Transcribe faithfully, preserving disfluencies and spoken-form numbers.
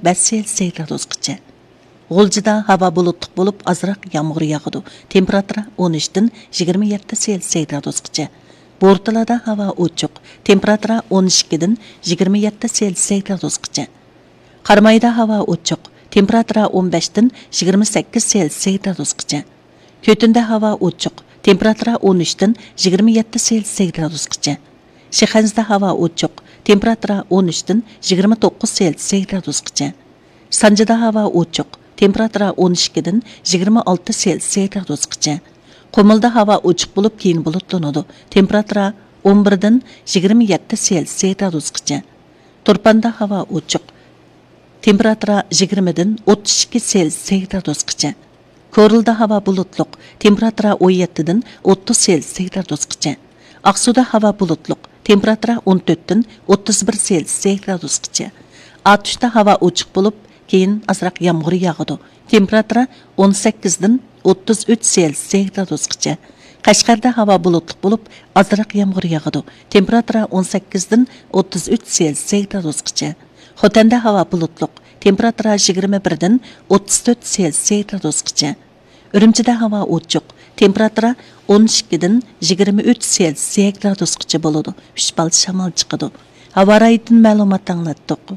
بەش سېلسىيە گرادۇسقىچە. غۇلجىدا ھاۋا بۇلۇتلۇق بولۇپ، ئازراق يامغۇر ياغىدۇ. تېمپېراتۇرا ئون ئۈچتىن يىگىرمە يەتتە سېلسىيە گرادۇسقىچە. بورتالادا ھاۋا ئوچۇق. تېمپېراتۇرا ئون ئىككىدىن يىگىرمە يەتتە سېلسىيە گرادۇسقىچە. قارامايدا ھاۋا ئوچۇق. تېمپېراتۇرا ئون بەشتىن يىگىرمە سەككىز سېلسىيە گرادۇسقىچە. كۆتۈندە ھاۋا ئوچۇق. تېمپېراتۇرا ئون ئۈچتىن يىگىرمە يەتتە سېلسىيە گرادۇسقىچە. شىخەنزىدە ھاۋا ئوچۇق. تېمپېراتۇرا ئون ئۈچتىن يىگىرمە توققۇز سېلسىيە گرادۇسقىچە. سانجىدا ھاۋا ئوچۇق. تېمپېراتۇرا ئون ئىككىدىن يىگىرمە ئالتە سېلسىيە گرادۇسقىچە. قۇمۇلدا ھاۋا ئوچۇق بولۇپ، كېيىن بۇلۇتلىنىدۇ. تېمپېراتۇرا ئون بىردىن يىگىرمە يەتتە سېلسىيە گرادۇسقىچە. تۇرپاندا ھاۋا ئوچۇق. تېمپېراتۇرا يىگىرمىدىن ئوتتۇز ئىككى سېلسىيە گرادۇسقىچە. كورلىدا ھاۋا بۇلۇتلۇق. تېمپېراتۇرا ئون يەتتىدىن ئوتتۇز سېلسىيە گرادۇسقىچە. ئاقسۇدا ھاۋا بۇلۇتلۇق. تېمپېراتۇرا ئون تۆتتىن ئوتتۇز بىر سېلسىيە گرادۇسقىچە. ئاتۇشتا ھاۋا ئوچۇق بولۇپ، كېيىن ئازراق يامغۇر ياغىدۇ. تېمپېراتۇرا ئون سەككىزدىن ئوتتۇز ئۈچ سېلسىيە گرادۇسقىچە. قەشقەردە ھاۋا بۇلۇتلۇق بولۇپ، ئازراق يامغۇر ياغىدۇ. تېمپېراتۇرا ئون سەككىزدىن ئوتتۇز ئۈچ سېلسىيە گرادۇسقىچە. خوتەندە ھاۋا بۇلۇتلۇق. تېمپېراتۇرا يىگىرمە بىردىن ئوتتۇز تۆت سېلسىيە گرادۇسقىچە. ئۈرۈمچىدە ھاۋا ئوچۇق. تېمپېراتۇرا ئون ئىككىدىن يىگىرمە ئۈچ سېلسىيە گرادۇسقىچە بولىدۇ. ئۈچ بال شامال چىقىدۇ. ھاۋا رايىدىن مەلۇمات ئاڭلاتتۇق.